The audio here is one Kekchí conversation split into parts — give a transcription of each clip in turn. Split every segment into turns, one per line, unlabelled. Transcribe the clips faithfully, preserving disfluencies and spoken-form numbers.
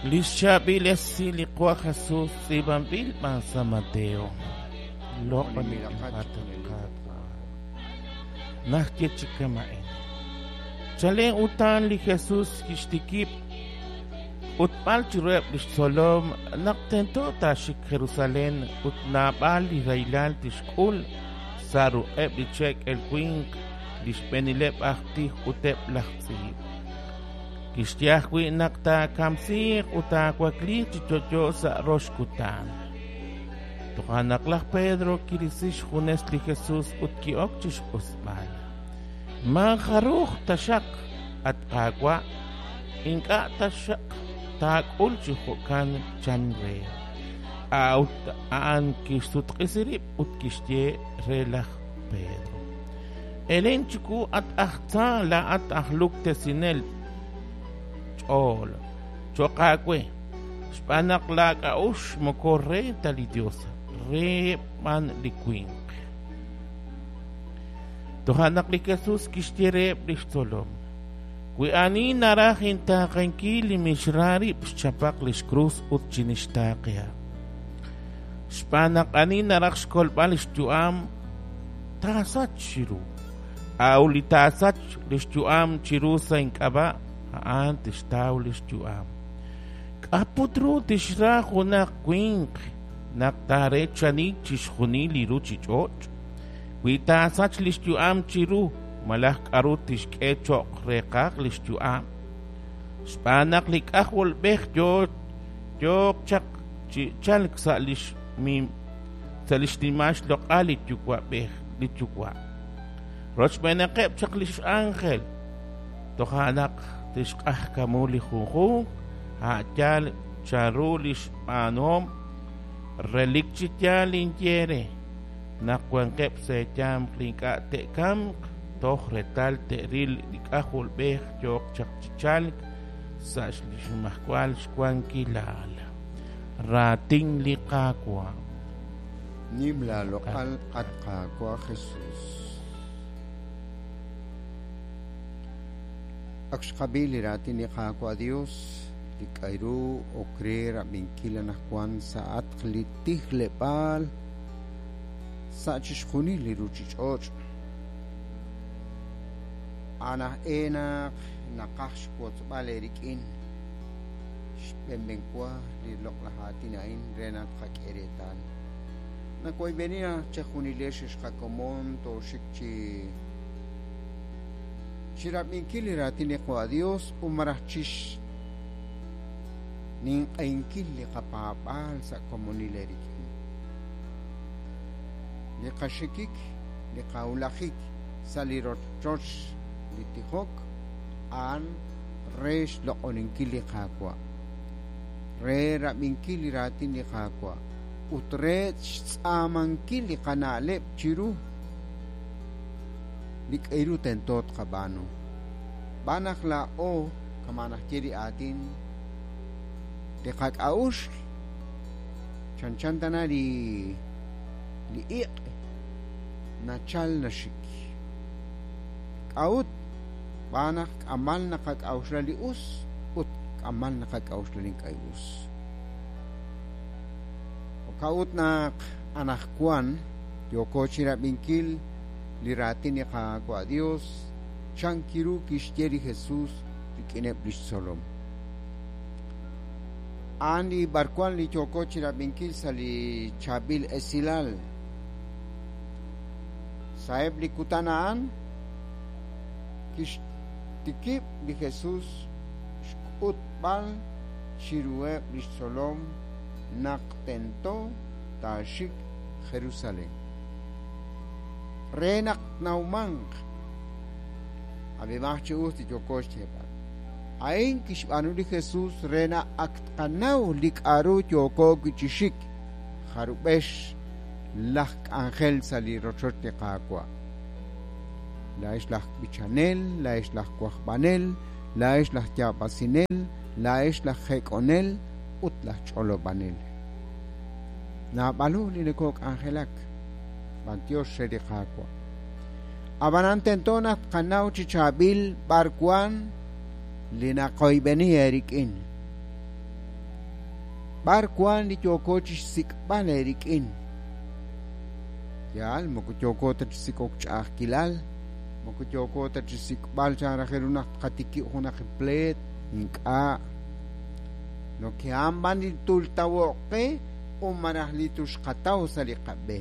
Li xchaab'il esil li Qaawa' Jesus tz'iib'anb'il b'an San Mateo. Loq'oninb'il Qaawa'. Naxye chi kama'in. Chalen utan li Jesus kixtikib' ut b'al chiruheb' lix tzolom naq tento taaxik Jerusalén ut naab'al li rahilal tixk'ul sa' ruq'eb' li che'k'el winq, li xb'eenileb' aj tij ut eb' laj tz'iib'. Kixye ajwi' naq taakamsiiq ut taawakliiq chi yo'yo sa' rox kutan. Toja' naq laj Pedro kirisi xjunes li Jesus ut ki'ok chi xq'usb'al. Maajaruj taxaq, at Qaawa', ink'a' taxaq taak'ul chi jo'kan chan re. A'ut a'an kixsutq'isi rib' ut kixye re laj Pedro: Elen chiwu, at aj tza, laa'at aj luktesinel ch'ool cho'q aawe, xb'aan naq laak'a'uxl moko re ta li Dios, re b'an li winq. Toja' naq li Jesus kixye reheb' li xtzolom: Wi ani naraj intaaqenkil li mixra rib' xchapaq li xkrus ut chinixtaaqehaq. Xb'aan naq ani naraj xkolb'al li xyu'am taasach chiru, a'ut li taasach li xyu'am chiru sa' ink'ab'a' a'an tixtaw li xyu'am. K'a' put ru tixra junaq winq naq taarechani chixjunil li ruuchich'och'? Wi taasach li xyu'am chiru, malaj k'aru tixk'e cho'q reeqaj li xyu'am? Xb'aan naq li K'ajolb'ej yooq chaq chi chalk sa' li xnimal xloq'al li Yuwa'b'ej li Yuwa'. Rochb'eenaqeb' chaq li x'ánjel, toja' naq tixq'ajkamu li junjunq a' yaal chanru li xb'aanuhom. Relik chi yaal ninye eere naq wankeb' sa' eeyanq li ink'a' te'kamq toj reetal te'ril li K'ajolb'ej yooq chaq chi chalk sa' li xnimajwal xwankilal. Raatin li Qaawa'.
Nim laaloq'al, at Qaawa' Jesus. Ak xqab'i li raatin li Qaawa' Dios, li k'ayru ok re rab'inkil anaqwan sa'atq li tijleb'aal sa' chixjunil li ruuchich'och'. Anaj enaq naqaj xwotzb'al eerik'in xb'enb'enwa li loq'laj aatin a'in re naq tqak'e reetal. Nakoyb'eni naq chejunilex xqakomon tooxik chi chirab'inkil li raatin li Qaawa' Dios ut maraj chix ninq'ehinkil li qapaab'aal sa' komonil eerik'in. Li qaxikik, li qawulajik sa' li rochoch li tijok a'an re xloq'oninkil li Qaawa', re rab'inkil li raatin li Qaawa' ut re xtz'aamankil li qana'leb' chiru li k'ayru tento tqab'aanu. B'aan naq laa'o kama naxye li aatin li qak'a'uxl chanchan tana li li iq' nachal naxik. K'a'ut b'aan naq k'amal naqak'a'uxla li us ut k'amal naqak'a'uxla li ink'a' us. K'a'ut naq anaqwan yooko chirab'inkil li raatin li Qaawa' Dios chankiru kixye li Jesus rik'ineb' lix tzolom. A'an li b'arwan li yooko chirab'inkil sa' li chaab'il esilal. Sa'eb' li kutan a'an kixtikib' li Jesus xk'utb'al chiruheb' lix tzolom naq tento taaxik Jerusalén. Re naq nawmanq ab'emaj chi us li yooko xyeeb'al. A'in kixb'aanu li Jesus re naq ak tqanaw li k'a'ru yooko wi' chi xik jarub'ex laj k'anjel sa' li rochoch li Qaawa'. Laa'ex laj b'ichanel, laa'ex laj wajb'anel, laa'ex laj yaab'asinel, laa'ex laj jek'onel ut laj ch'olob'anel. Naab'alu li nokok'anjelak b'antiox re li Qaawa'. Ab'anan tento naq tqanaw chi chaab'il b'arwan li naqoyb'eni eerik'in. B'ar wan li yooko chi xsik'b'al eerik'in. Yaal, moko yooko ta chi sik'ok ch'a'ajkilal, moko yooko ta chi sik'b'al chan raj ru naq tqatikib' junaq pleet, ink'a'. Noke'an b'an li tultawo'q qe u malaj li tuxqataw sa' li qab'e.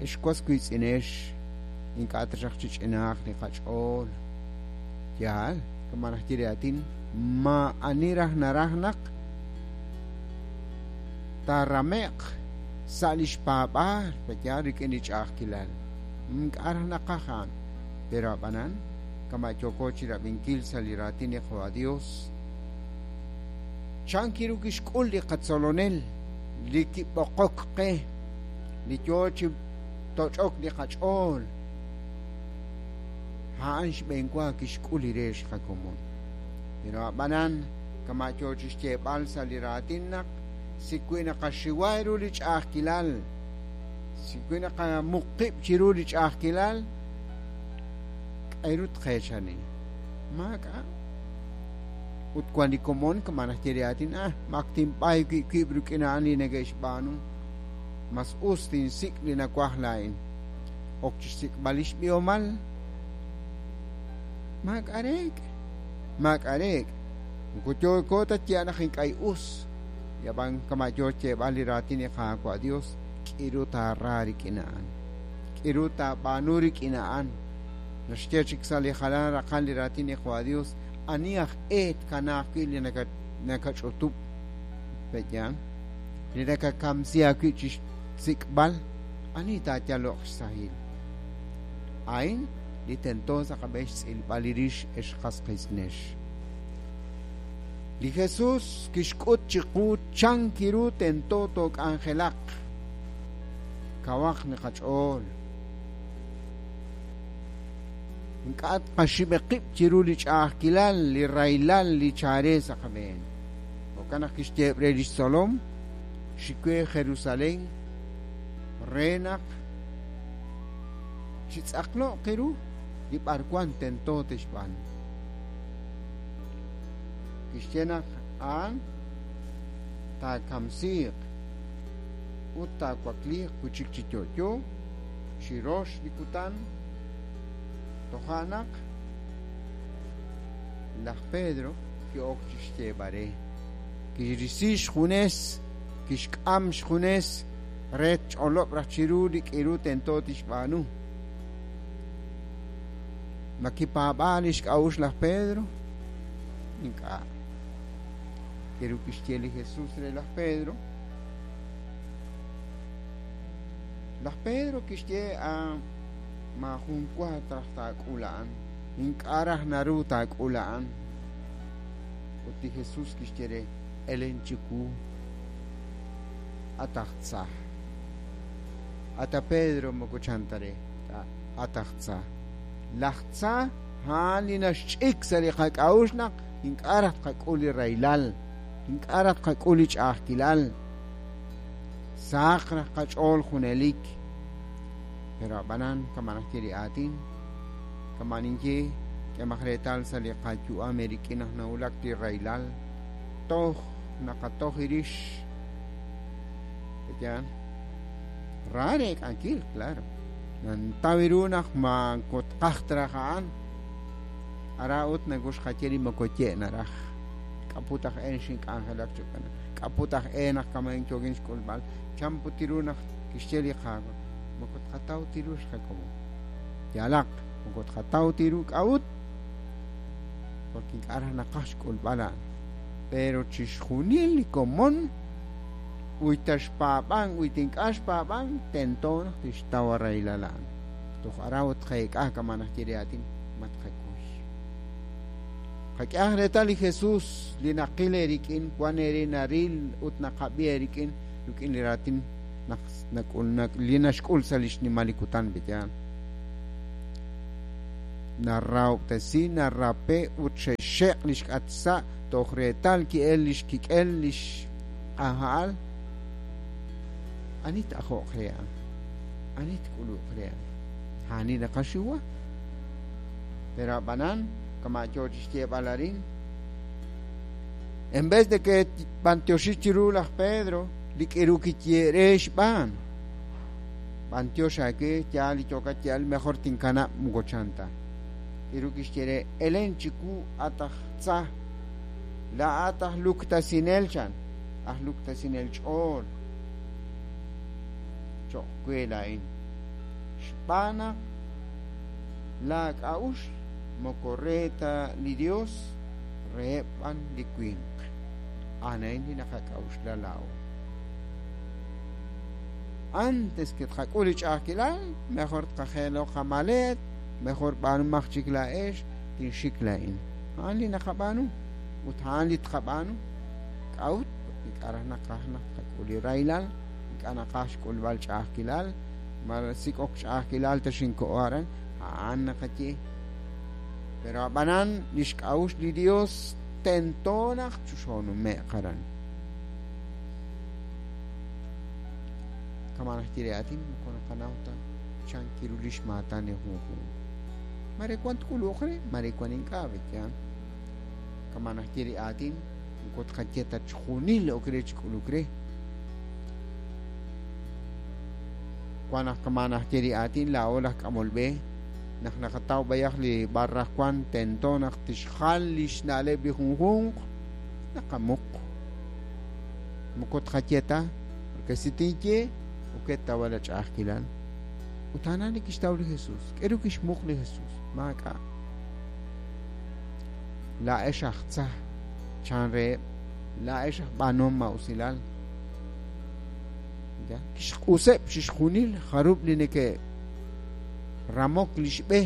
Ex was wiitz'inex, ink'a' taxaq chi ch'inaaq li qach'ool. Yaal, kama naj ye li aatin, ma ani raj naraj naq taarame'q sa' li xpaab'aal yaal rik'in li ch'a'ajkilal. Ink'a' raj naqaj a'an. Pero ab'anan, kama yooko chi rab'inkil sa' li raatin li Qaawa' Dios, chan kiru kixk'ul li qatzolonel, li kib'oqok qe, li yoo chi toch'ok li qach'ool. A'an xb'eenwa kixk'ul li re xqakomon. Pero ab'anan, kama yoo chi xyeeb'al sa' li raatin naq si wi naqaxiwa ru li ch'a'ajkilal, si wi naqamuqib' chiru li ch'a'ajkilal, k'ayru tqeechani. Maak'a'. Ut wan li komon kama naj ye li aatin, ah, mak tinb'ay wi' wib' rik'in a'an li neke'xb'aanu. Mas us tinsik' li nawaj laa'in. Ok chi xsik'b'al li xb'ihomal. Maak'a' reek'. Maak'a' reek'. Moko yooko ta ye naq ink'a' us. Yab'an kama yoo xyeeb'al li raatin li Qaawa' Dios, k'iru taara rik'in a'an. K'iru taab'aanu rik'in a'an. Naxye chik sa' li jalan raqal li raatin li Qaawa' Dios, ani aj eet kanaaq wi' li nakach'utub' pe'yan, li nakakamsi aawi' chi xsik'b'al, ani taayalo'q xsahil. A'in li tento sa' qab'een xtz'ilb'al li rix ex qas qiitz'inex. Li Jesús kixk'ut chiqu chan kiru tento took'anjelaq. Kawaq li qach'ool. Ink'a' tqaxib'e qib' chiru li ch'a'ajkilal, li raylal, li chaare sa' qab'een. Jo'kan naq kixyeeb' re li xtzolom, xikwe Jerusalén re naq chitz'aqlo'q ru li b'arwan tento tixb'aanu. Kixye naq a'an taakamsiiq ut taawakliiq wi' chik chi yo'yo chirox li kutan. Toja' naq laj Pedro ki'ok chi xyeeb'al re, kirisi xjunes, kixk'am xjunes re tch'olob' raj chiru li k'iru tento tixb'aanu. Ma kipaab'aal li xk'a'uxl laj Pedro? Ink'a'. Kiru kixye li Jesús re laj Pedro. Laj Pedro kixye a maajun wa raj taak'ul a'an. Ink'a' raj naru taak'ul a'an. Ut li Jesús kixye re, elen chiwu, at aj tza. Ata Pedro moko chan ta re, at aj tza. Laj tza a'an li naxch'ik sa' li qak'a'uxl naq ink'a' raj tqak'ul li raylal, ink'a' raj tqak'ul li ch'a'ajkilal. Saq raj qach'ool junelik. Pero ab'anan kama naj ye li aatin, kama ninye k'emaq reetal sa' li qayu'am rik'in naq nawulak li raylal, toj naqatoj irix. Pe'yan ra reek'ankil, claro. Nantaw ru naq ma kotqaj traj a'an. Ara ut nakuxqaye li moko ye naraj. K'aput aj een xink'anjelak chukana. K'aput aj een naq kamain yoogin xk'ulb'al. Chan put ru naq kixye li Qaawa'. Moko tqataw tiru xqakomon. Yalaq, moko tqataw tiru k'a'ut. Porque ink'a' raj naqaj xk'ulb'al a'an. Pero chixjunil li komon uy ta xpaab'an, uy ta ink'a' xpaab'an, tento naq tixtaw raylal a'an. Toj ara ut tqeek'a kama naj ye li aatin, ma tqakuy. Qak'ehaq reetal li Jesús li naqil eerik'in, wan eere naril ut naqab'i eerik'in, rik'in li raatin naq nak'ul nak li naxk'ul sa' li xnimal li kutan pe'yan. Narahob'tesi, narape ut xexeq' li xk'at sa' toj reetal ki'el li xkik'el li xq'aja'al. Ani t'ajo'q re a'an? Ani tk'ulu'q re a'an? Ani naqaxiwa? Pero ab'anan, kama yoo chi xyeeb'al arin, En vez de que b'antioxi chiru laj Pedro, li k'iru kiye're xb'aan. B'antiox aawe yaal li yookat yaal mejor tinkanab' moko chan ta. K'iru kixye elen chiku at aj tza laa'at aj luktasinel chan aj luktasinel ch'ool cho'q we laa'in xb'aan naq laak'a'uxl moko re ta li Dios reheb' b'an li winq. A'an li naqak'a'uxla laa'o. Antes que tqak'ul li ch'a'ajkilal, mejor tqajeelo qamalet, mejor b'aanumaq chik laa'ex, tinxik laa'in. A'an li naqab'aanu ut a'an li tqab'aanu. K'a'ut ink'a' raj naqaj naq tqak'ul li rahilal, ink'a' naqaj xk'ulb'al ch'a'ajkilal, ma sik'ok ch'a'ajkilal ta xinko'o aran, a'an naqaye. Pero ab'anan li xk'a'uxl li Dios tento naq chuxonume'q aran. Kama naxye li aatin moko naqanaw ta chan kiru li xmaatan li junjunq. Mare wan tk'uluq re, mare wan ink'a' beyan. Kama naxye li aatin moko tqaye ta chjunil ok re chik'uluk re. Wan naq kama naxye li aatin laa'o laj k'amol b'e naq naqataw b'ayaq li barraj wan tento naq tixjal li xna'leb' li junjunq naqamuq. Moko tqaye ta, porque si tinye ok tawala ch'a'ajkilal. Ut a'an li kixtaw li Jesús. K'eru kixmuq li Jesús. Maak'a'. Laa'ex aj tza chan reheb', laa'ex aj b'aanuhom ma'usilal. Ya kixq'useb' chixjunil jarub' li neke' ramok li xb'e.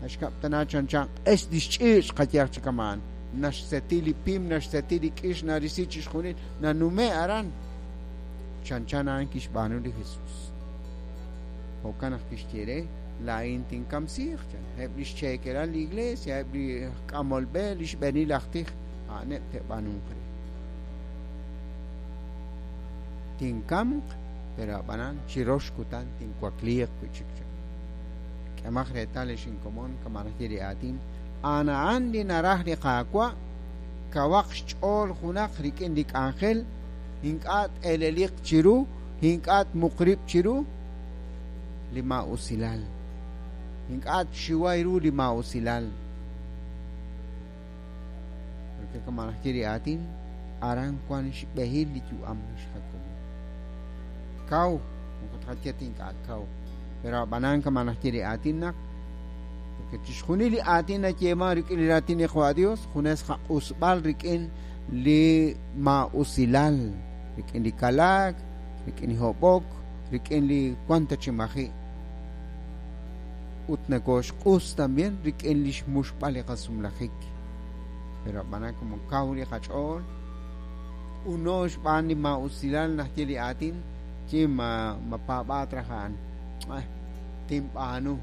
Naxkab'tana chan chan q'ex li xch'iich' qayaj chi kamaan. Naxseti li pim, naxseti li k'ix, narisi chixjunil, nanume' aran. Chan chan a'an kixb'aanu li Jesús. Jo'kan naq kixye re laa'in tinkamsiiq chan. Eb' li xcheekelal li iglesia, eb' li k'amol b'e, li xb'eenil aj tij, a'aneb' te'b'aanunq re. Tinkamq, pero ab'anan chirox kutan tinwakliiq wi' chik chan. K'emaq reetal li xinkomon kama naxye li aatin, a'an a'an li naraj li Qaawa', kawaq xch'ool junaq rik'in li k'anjel, ink'a' t'eleliq chiru, ink'a' tmuqrib' chiru li ma'usilal. Ink'a' txiway ru li ma'usilal. Porque kama naxye li aatin, aran wan xb'ehil li yu'am xjakomon. Kaw, moko tqaye ta ink'a' kaw. Pero ab'anan kama naxye li aatin naq porque chixjunil li aatin nayeeman rik'in li raatin li Qaawa' Dios, junes qaq'usb'al rik'in li ma'usilal, rik'in li kalaak, rik'in li hob'ok, rik'in li wan ta chi maji'. Ut nakoxq'us también rik'in li xmuxb'al li qasumlajik. Pero ab'anan como kaw li qach'ool, uno xb'aan li ma'usilal naxye li aatin, chi ma mapaab'aat raj a'an. Ay, tinb'aanu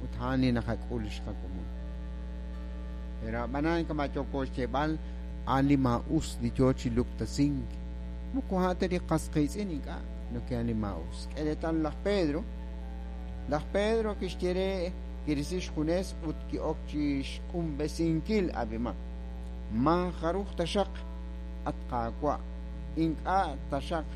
ut a'an li naqak'ul xqakomon. Pero ab'anan kama yooko xyeeb'al, a'an li ma'us li yoo chi luktasink. Moko a'an ta li qas qiitz'in ink'a', no que a'an li ma'us. K'e reetal laj Pedro. Laj Pedro kixye re kirisi xjunes ut ki'ok chi xq'unb'esinkil ab'imaq. Ma jaruj taxaq at Qaawa', ink'a' taxaq